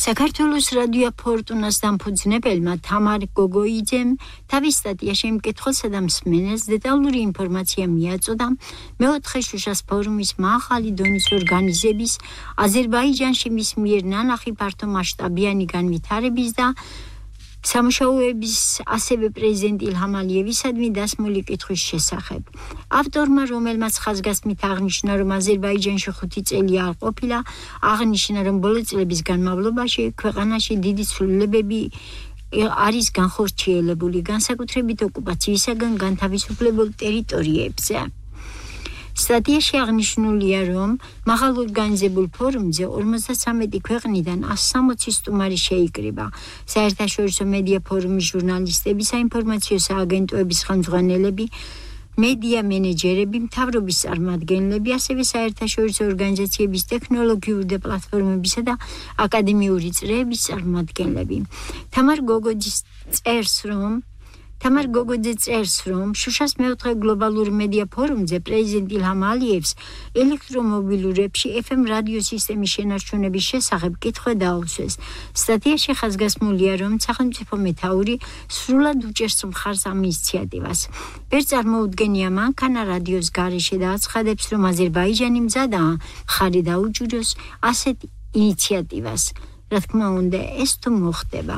საქართველოს რადიო ფორტუნას დამფუძნებელმა თამარ გოგოიძემ თავის სტატიაში იმ კითხვასა და მსმენელს დეტალური ინფორმაცია მიაწოდა მეოთხე შუშას ფორუმის მაღალი დონის ორგანიზების აზერბაიჯანში მის მიერ ნანახი ფართომასშტაბიანი განვითარების და სამუშაოების ასევე პრეზიდენტ ილჰამ ალიევისადმი დასმული კითხვის შესახებ. ავტორმა, რომელმაც ხაზგასმით აღნიშნა, რომ აზერბაიჯანში 5 წელი არ ყოფილა, აღნიშნა, რომ ბოლო წლების განმავლობაში ქვეყანაში დიდი ცვლილებები არის განხორციელებული, განსაკუთრებით ოკუპაციისაგან განთავისუფლებულ ტერიტორიებზე. სტატიაში აღნიშნულია, რომ მაღალ ორგანიზებულ ფორუმზე 53 ქვეყნიდან 160 სტუმარი შეიკრიბა. საერთაშორისო მედია ფორუმის ჟურნალისტები, საინფორმაციო სააგენტოების ხელმძღვანელები, მედია მენეჯერები, მთავრობის წარმომადგენლები, ასევე საერთაშორისო ორგანიზაციების ტექნოლოგიური და პლატფორმებისა და აკადემიური წრეების წარმომადგენლები. თამარ გოგოძე წერს, რომ შუშას მეოთხე გლობალური მედია ფორუმზე პრეზიდენტ ილჰამ ალიევს ელექტრომობილურებში FM რადიო სისტემის შენარჩუნების შესახებ კითხვა დაუსვეს. სტატიაში ხაზგასმულია, რომ სახელმწიფო მეთაური სრულად უჭერს მხარს ამ ინიციატივას. ვერ წარმოუდგენია მანქანა რადიოს გარეშე და აცხადებს, რომ აზერბაიჯანი მზადაა მხარი დაუჭიროს ასეთ ინიციატივას. რა თქმა უნდა, ეს თუ მოხდება.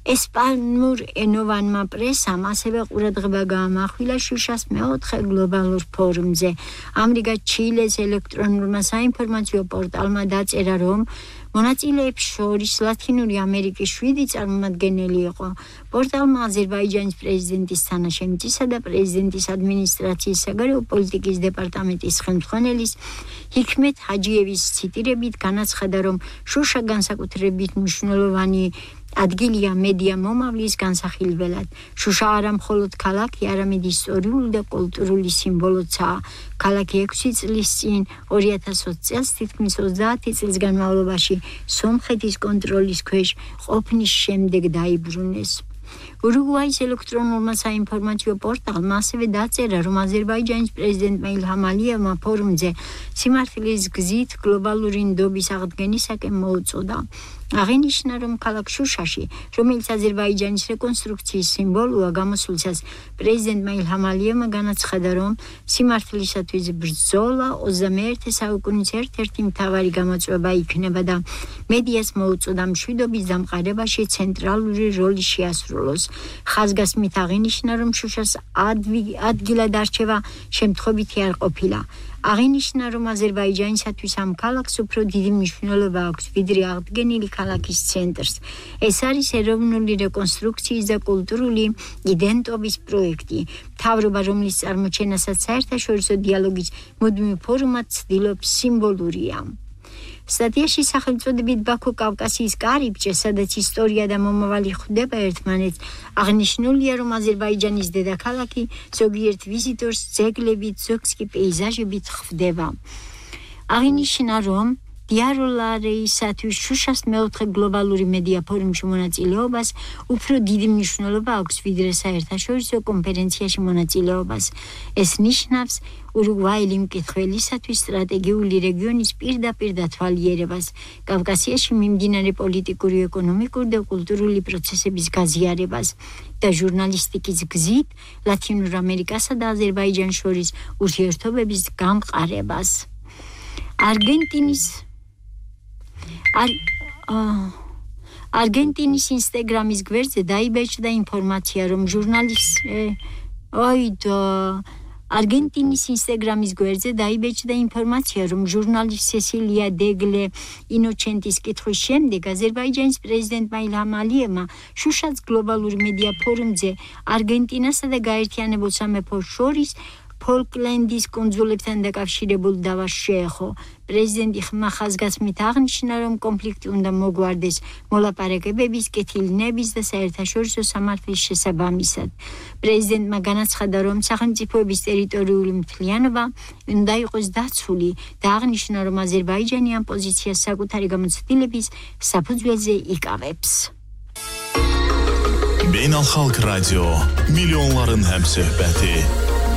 ესპანურ ენოვანმა პრესამ ასევე ყურადღება გაამახვილა შუშას მეოთხე გლობალურ ფორუმზე. ამრიგად ჩილეს ელექტრონულმა საინფორმაციო პორტალმა დაწერა, რომ მონაწილეებს შორის ლათინური ამერიკის 7 წარმომადგენელი იყო. პორტალმა აზერბაიჯანის პრეზიდენტის თანაშემწისა და პრეზიდენტის ადმინისტრაციის საგარეო პოლიტიკის დეპარტამენტის ხელმძღვანელის ჰიქმეთ ჰაჯიევის ციტირებით განაცხადა, რომ შუშა განსაკუთრებით მნიშვნელოვანი ადგილია მედია მომავლის განსახილველად. შუშა არა მხოლოდ ქალაქი, არამედ ისტორიული და კულტურული სიმბოლოა. ქალაქი 6 წლის წინ 2020 წელს თითქმის 30 წლის განმავლობაში სომხეთის კონტროლის ქვეშ ყოფნის შემდეგ დაიბრუნეს. ურუგვაის ელექტრონულმა საინფორმაციო პორტალმა ასევე დაწერა, რომ აზერბაიჯანის პრეზიდენტმა ილჰამ ალიევმა ფორუმზე სიმართლის გზით გლობალური ნდობის აღდგენისაკენ მოუწოდა. აღინიშნა, რომ ქალაქ შუშაში, რომელიც აზერბაიჯანის რეკონსტრუქციის სიმბოლოა, გამოსვლისას პრეზიდენტმა ილჰამ ალიევმა განაცხადა, რომ სიმართლისათვის ბრძოლა 21 საუკუნის ერთ-ერთი მთავარი გამოწვევა იქნება და მედიას მოუწოდა მშვიდობის დამყარებაში ცენტრალური როლი შეასრულოს. ხაზგასმით აღინიშნა, რომ შუშას ადგილად არჩევა შემთხვევითი არ ყოფილა. აღინიშნა, რომ აზერბაიჯანისათვის ამ ქალაქს უფრო დიდი მნიშვნელობა აქვს, ვიდრე აღდგენილი ქალაქის ცენტრს. ეს არის ეროვნული რეკონსტრუქციის და კულტურული იდენტობის პროექტი. მთავრობა, რომლის წარმოჩენასაც საერთაშორისო დიალოგის მუდმივ ფორუმად ცდილობს, სიმბოლურია. სტატიაში სახელწოდებით ბაქო კავკასიის კარიბჭე, სადაც ისტორია და მომავალი ხვდება ერთმანეთს, აღნიშნულია, რომ აზერბაიჯანის დედაქალაქი ზოგიერთ ვიზიტორს ძეგლებით, ზოგს კი პეიზაჟებით ხვდება. აღინიშნა, რომ დიალოგისათვის შუშას მეოთხე გლობალური მედია ფორუმში მონაწილეობას უფრო დიდი მნიშვნელობა აქვს, ვიდრე საერთაშორისო კონფერენციაში მონაწილეობას. ეს ნიშნავს ურუგვაელი მკითხველისათვის სტრატეგიული რეგიონის პირდაპირ დათვალიერებას, კავკასიაში მიმდინარე პოლიტიკური, ეკონომიკური და კულტურული პროცესების გაზიარებას და ჟურნალისტიკის გზით ლათინურ ამერიკასა და აზერბაიჯანს შორის ურთიერთობების გამყარებას. არგენტინის ინსტაგრამის გვერდზე დაიბეჭდა ინფორმაცია, რომ ჟურნალისტ სესილია დეგლე ინოჩენტის კითხვის შემდეგ აზერბაიჯანის პრეზიდენტმა ილჰამ ალიევმა შუშას გლობალურ მედია ფორუმზე არგენტინასა და გაერთიანებულ სამეფოს შორის ფოლკლენდის კუნძულებთან დაკავშირებულ დავას შეეხო. პრეზიდენტი ხაზგასმით აღნიშნა, რომ კონფლიქტი უნდა მოგვარდეს მოლაპარაკებების, კეთილნების და საერთაშორისო სამართლის შესაბამისად. პრეზიდენტმა განაცხადა, რომ სახელმწიფოების ტერიტორიული მთლიანობა უნდა იყოს დაცული და აღნიშნა, რომ აზერბაიჯანი ამ პოზიციას საკუთარი გამოცდილების საფუძველზე იკავებს. Beynəlxalq Radio, milyonların həmsöhbəti.